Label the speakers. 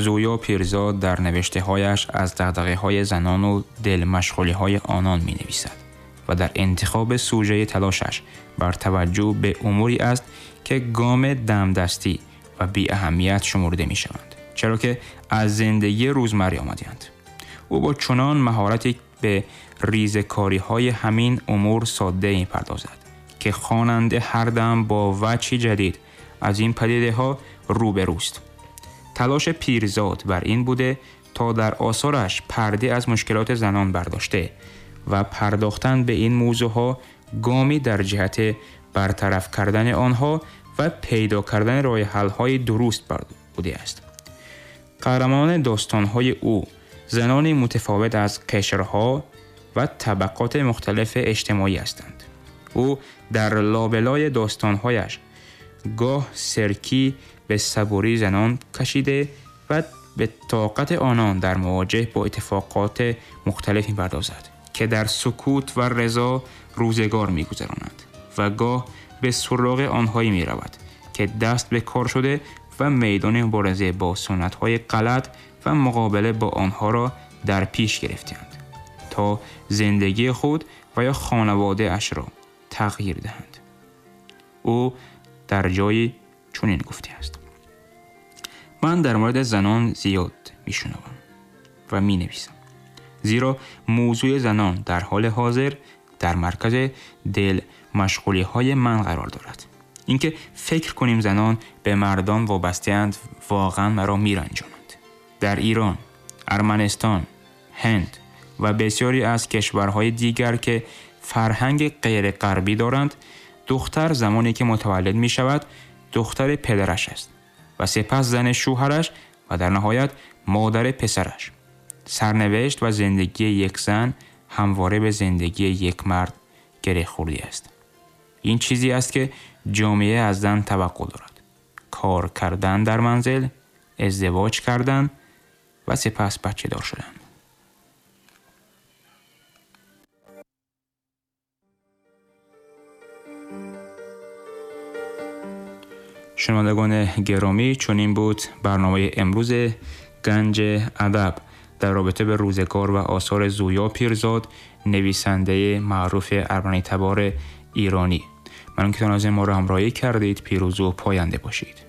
Speaker 1: Зуё Пирзод дар навиштаҳояш аз дағдағаҳои занон ва дилмашғулиҳои онон менависад ва дар интихоби сужаи талошаш бар таваҷҷӯҳ ба умуре аст ки гом дамдастӣ ва беаҳамият шумурда мешаванд, чаро ки аз зиндагии рӯзмарра омадаанд. Ӯ бо чунон маҳорате ба ریزکاری‌های همین امور ساده می‌پردازد که خواننده هر دم با وجهی جدید از این پدیده‌ها روبروست. تلاش پیرزاد بر این بوده تا در آثارش پرده از مشکلات زنان برداشته و پرداختن به این موضوعها گامی در جهت برطرف کردن آنها و پیدا کردن راه حل‌های درست بوده است. قهرمان داستان‌های او زنانی متفاوت از قشرها و طبقات مختلف اجتماعی هستند. او در لابلای داستان‌هایش گاه سرکی به صبوری زنان کشیده و به طاقت آنان در مواجهه با اتفاقات مختلف می‌پردازد که در سکوت و رضا روزگار می‌گذرانند و گاه به سراغ آنهایی می‌رود که دست به کار شده و میدان مبارزه با سنت‌های غلط و مقابله با آنها را در پیش گرفتند تا زندگی خود و یا خانواده اش را تغییر دهند. او در جایی چنین گفته است: من در مورد زنان زیاد میشنوم و مینویسم، زیرا موضوع زنان در حال حاضر در مرکز دل مشغولی های من قرار دارد. اینکه فکر کنیم زنان به مردان وابسته‌اند واقعا مرا میرنجاند. در ایران، ارمنستان، هند و بسیاری از کشورهای دیگر که فرهنگ غیر غربی دارند، دختر زمانی که متولد می شود دختر پدرش است و سپس زن شوهرش و در نهایت مادر پسرش. سرنوشت و زندگی یک زن همواره به زندگی یک مرد گره خورده است. این چیزی است که جامعه از زن توقع دارد: کار کردن در منزل، ازدواج کردن و سپس بچه دار شدن. شنوندگان گرامی، چنین بود برنامه امروز گنج ادب در رابطه به روزگار و آثار زویا پیرزاد، نویسنده معروف ارمنی تبار ایرانی. ممنون که تا ما را همراهی کردید. پیروز و پاینده باشید.